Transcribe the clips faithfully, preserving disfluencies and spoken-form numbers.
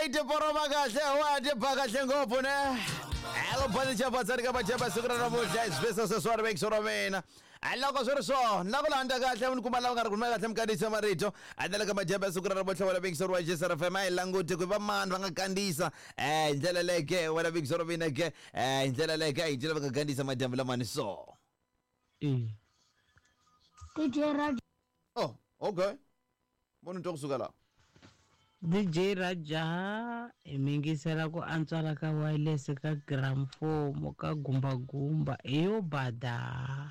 Yi tiporoma kahle, wa ti ba kahle ngopfu ne. Elo bani chapa tsari ka bachapa siku ra namuntlha hi swivesa sweswiwani vekisi ra mina. A loko swi ri swona na ku landza kahle mi kuma lava nga ri kumeka kahle mi kandziyisa marito a ndlela ka madyambu ya siku ra namuntlha wena vekisi wa J S R F M. A hi languti ku va mani va nga kandziyisa eh hi ndlela leke wena vekisi ra mina ke eh hi ndlela leke a hi ndlela va nga kandziyisa madyambu lamani so. E. D J Raja. Oh, okay, munhu twa kusuka laha. D J Raja, hi mingisela ku antswala ka wireless ka gramofomo ka gumbagumba hi yo bada.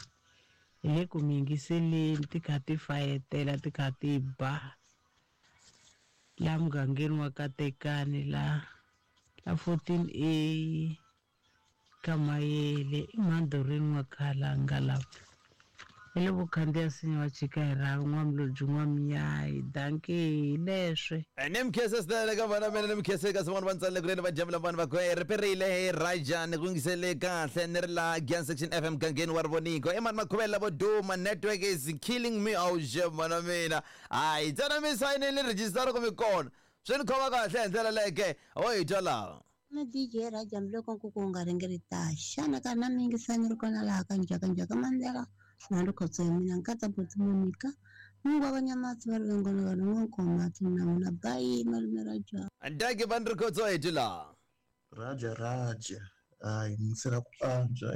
Hi le ku mingiseleni ti kha ti fayetela, ti kha ti ba la mugangeni wa Katekani la la fourteen A ka Mayele i mhandorweni wa Khalanga lapha hi le vukhandziya sinya wa chika hi rhavi n'wamlodzi n'wamnyayi. Danke hi leswe. Ni mkhese swinene ka vana mina, ni mkhese kasi van'wana va ntsalele kuleni va jamula vanhu va ku ri perile hi Raja ni ku yingisele kahle ni ri la Gian Section F M gangeni wa Rivoniko i mani makhuvela vo duma. Network is killing me. Awuxe mana mina, hayi ntsena mi sayinile register ku mi kona, swi ni khoma kahle hi ndlela leke ho hi twa laha. Na D J Raja, loko nkuku wu nga ringerita xana ka na mingisani ri kona laha ka njhaka njhaka mandela na ri khotso ya mina nkatsa boti Monica mungu wa vanyamatsi va ri vengona vanhu n'wankomati na n'wina. Bayi malume Raja. Ndaki va ni ri khotso hi twi laha. Raja Raja, hayi yingisela ku antswa.